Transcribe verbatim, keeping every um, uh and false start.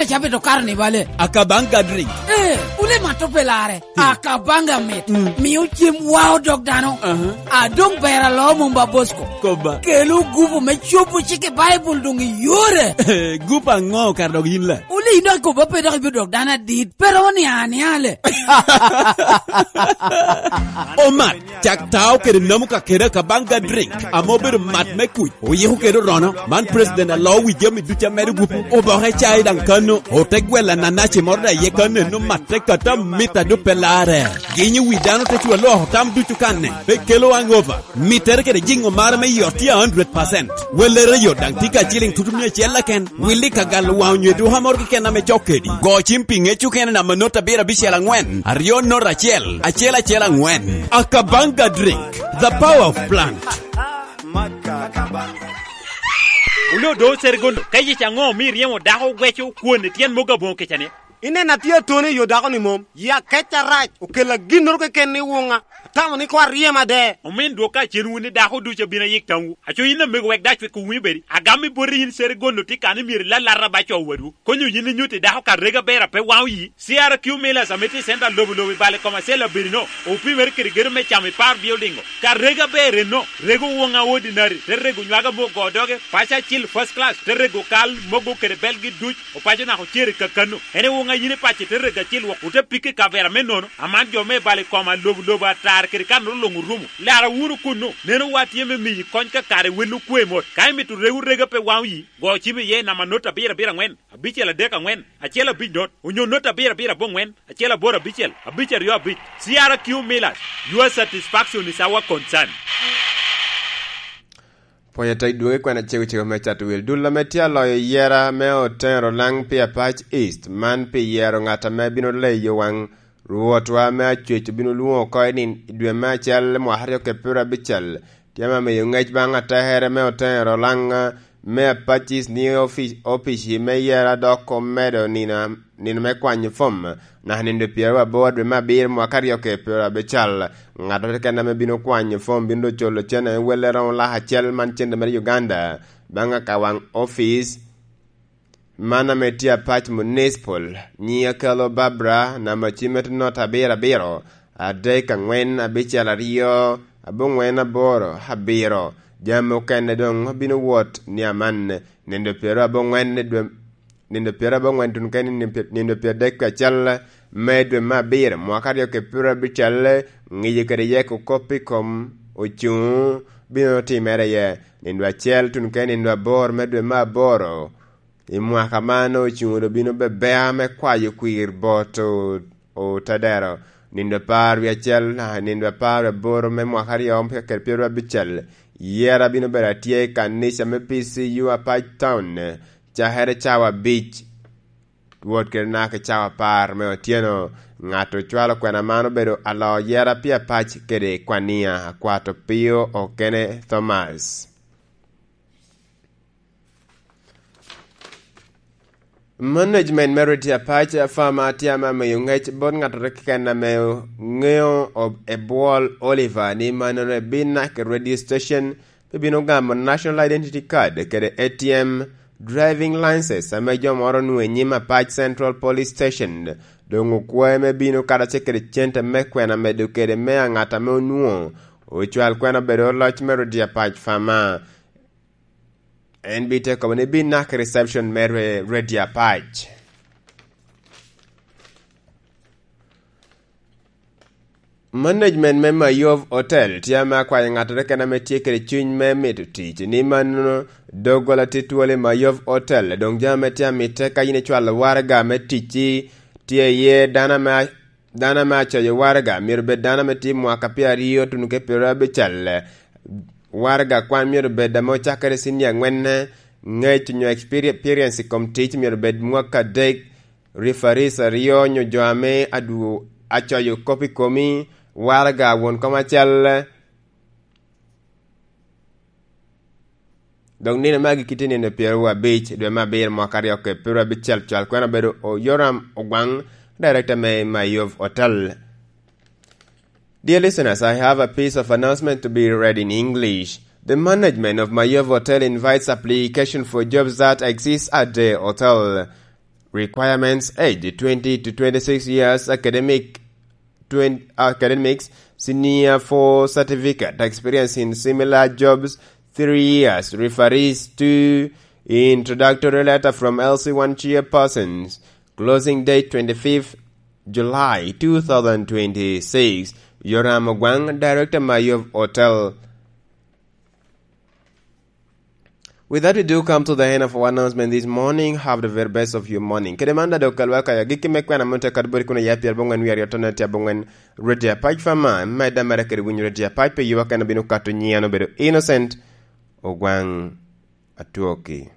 Cabit okato ni bale. Akabanga drink. Eh, wule mato pe lare. Hmm. Akabanga mit. Hmm. Mio cem wa odok dano. Aha. Adong ber alo mumba Bosco. Koba. Kelo gupu me cobo cik i Baibul dong i yore. Gupu ango kar dok yin la? Wule ino akoba pe dok ibidok dano adit. Pero ni aniale. Omat, cak tao kede namu ka kede Akabanga drink, ame obedo mat me kuc, oyiko kede orono. Man president alo wi jami ducu a medo gupu, oboke cai daŋ kano, ote gwelo ananaci moro daŋ iye kano, eno matte kata mit a duk pe larre. Ginyo wi dano te cu aloko tam ducu kanne, pe kelo hangover. Mittere kede jiŋo mare me yot tye a hundred percent. Wellere yot daŋ tye ka ciliŋ tutu mia acel keken. Willi ka galo waŋ onyo eduka moro keken ame cok kedi. Go cim pi ŋec okene namba not abiro abicel aŋwen, aryo not acel, acel acel aŋwen. Akabanga drink, the power of plant. Wule odo Seregondo, ka yec aŋo omio iryemo dako ogweco kwon i tyen mogo aboŋo kica ni? Ineno atye atone i yo dako-ni mom, ya kec arac, okella ginnoro keken i wuŋa, atamo ni koŋ aryem ade. Omin dwok ka cen wun ni dako ducu abino ayik tamwu. Aco yin amego wek dac wek owinyo bedi, agam i boti yin Seregondo tye kan imyero ilalata ba co wadwu. Konyo yin inyutti dako ka rega ber a pe waŋo yi. C R Q Millers ame tye i center lobo lobo i bale kom acel abedi no, opimere kede gedo me camo i par building o. Ka rega ber enno, rego woŋa ordinary, te rego nywaga mogo doge, paco acil first class, te rego kal mogo kede belgi duc, opaco nako cere kakano. En i woŋa yin i paco te rego acil wok, ote pikke i kavera me nono, aman jo me bale kom alobo lobo atar kede kan oluŋ orumo. Lara wunu kunnu, neno wa tye me miyi kony ka kare wel okwe mot. Ka imito rego rega pe waŋo yi, go cim iye i namba not abiro abiro aŋwen, abicel adek aŋwen, acel abic not, onyo not abiro abiro aboŋwen, acel aboro abicel, abic aryo abic. C R Q Millers, your satisfaction is our concern. Pwony atek dwogo i kwena cego cego me cato wil. Dul ame tye aloyo yera me Otero Lang pi Apac East, man pi yero ŋat ame bino leyo waŋ Rwotwa me Acwec obino lwoŋo oko i nin-, i dwe me acel mwaka aryo kede pyerabicel. Tye ame miyo ŋec baŋ atekere me Otero Lang me Apac East ni ofi-, opici me yera dok omedo nino, nino me kwanyo fom, naka nino pyeraboro dwe me abiro mwaka aryo kede pyerabicel. Ŋat keken ame bino kwanyo fom bino doŋ culo cene me welle romo lak acel man cente mere Uganda, baŋ akawaŋ opic man ame tye Apac Municipal, nyiŋe kelo Barbara, namba cimme tye not abiro abiro, adek aŋwen abicel aryo, aboŋwen aboro abiro. Jami okene doŋ bino wot ni aman, nino pyeraboro aŋwen i dwe, nino pyeraboro aŋwen tuno kene nino pye-, nino pyeradek acel me dwe me abiro, mwaka aryo kede pyerabicel, ŋiyo kede yeko kop i kom ocuŋ bino timere iye. Nino acel tuno kene nino aboro me dwe me aboro, i mwaka man ocuŋ doŋ bino bebea me kwayo kwir bot o-, otadero. Nino apar wie acel, ah, nino apar wie aboro me mwaka aryo kede pyerabicel, yera bino bedo atye i kanica me P C U Apac Town, cakere cawa abic, wot kede naka i cawa apar me otyeno. Ŋat ocwalo kwena man obedo alo yera pi Apac kede Kwania, Akwato Pio Okene Thomas. Management me Radio Apac Farmer tye ame amiyo ŋec bot ŋattoro keken ame ŋeo ob-, ebwol Oliver ni mannono ebin naka i radio station, pe bino gamo National Identity Card kede A T M driving license ame jo moro onwoŋo i nyim Apac Central Police Station. Doŋ okwae me bino karacel kede cente me kwena medo kede me a ŋat ame onwoŋo ocwal kwena obedo oloc me Radio Apac Farmer. En bite kobo ni bin naka i reception me re-, Radio Apac. Management me Mayov Hotel tye ame akwayo ŋattoro keken ame tye kede cuny me mito tic ni mannono doggola tye twol i Mayov Hotel, doŋ jami ame tye amitte ka yin icwalo waraga me ticci tye iye dano ame a-, dano ame acoyo waraga myero bed dano ame tye mwaka pyeraryo tuno ki pyerabicel. Waraga kwan myero bed ame ocakkere i cinia aŋwenne, ŋec onyo experi-, experience i kom tic myero bed mwaka adek, referees aryo onyo jo ame adwo-, acoyo kop i komi, waraga won kom acel. Dok nino me agikki tye nino pyeraryo abic dwe me abiro mwaka aryo kede pyerabicel, cwal kwena obedo o Yoram Ogwaŋ, director me Mayov Hotel. Dear listeners, I have a piece of announcement to be read in English. The management of Mayov Hotel invites application for jobs that exist at the hotel. Requirements: age twenty to twenty-six years, academic twenty, academics, senior four certificate, experience in similar jobs, three years, referees to introductory letter from L C one chairpersons, closing date twenty-fifth July two thousand twenty-six. Yoram Ogwang, Director Mayov Hotel. With that, we do come to the end of our announcement this morning. Have the very best of your morning. Kede man, dado kalwa kaya gikki me kwena mun te kat bori kuno ya pier bongwen wi aryo tonne tia bongwen Radio Apac Fama, medda mere kede winyo Radio Apac pe yuwa kena bino kato nyian obedo Innocent Ogwang Atwoki.